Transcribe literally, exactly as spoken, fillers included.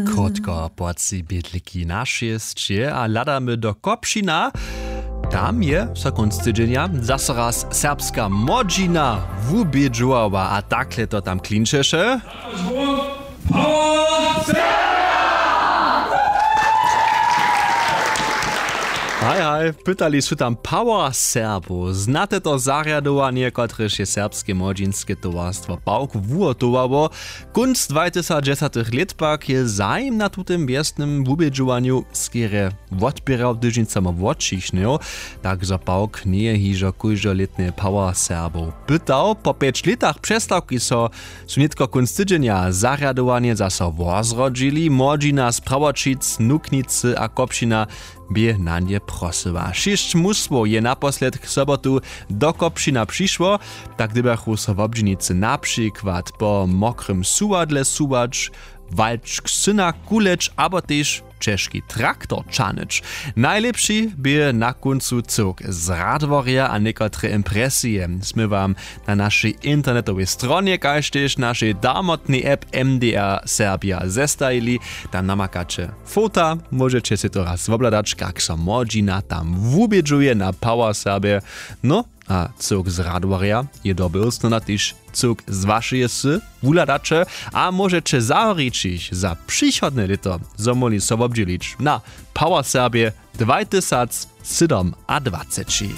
Krótko po tři bědliki na šěsće a hladamy do Kopšina. Tam je so kónc tydźenja zaso raz serbska młodźina wubědźowała a takle to tam klinčeše. Haj haj, pytali su tam Power Serbow. Znate to zarjadowanje, kotrež je serbske młodźinske towarstwo Pawk wuhotowało? Kónc dwatysacdźesatych lět pak je zajim na tutym wjesnym wubědźowanju skerje wotběrał, hdyž nic samo wotřichnył. Tak zo Pawk njeje hižo kóždolětnje Power Serbow pytał. Po pjeć lětach přestawki so su nětko kónc tydźenja zarjadowanje zaso wozrodźili. Młodźina z Prawoćic, Nuknicy a Kopšina bě na nje prosyła. Šěsć mustwow je naposledk sobotu do Kopšina přišło. Tak dyrbjachu so wobdźělnicy na přikład po Mokrym suwadle suwać, Walčk syna kuleć abo tež ćežki traktor ćahnyć. Najlěpši bě na kóncu cyłk z Radworja a někotre impresije smy wam na našej internetowej stronje kaž tež našej damotnej app M D R Serbia zestajili. Tam namakaće fota, móžeće sej to raz wobhladać, kak so młodźina tam wubědźuje na Power Serbje. No, a cyłk z Radworja je dobył, snona tež cyłk z wašeje wsy wuhladaće a móžeće zawrićich za přichodne lěto zo móhli so wobdźělić na Power Serbje dwatysacsydomadwaceći.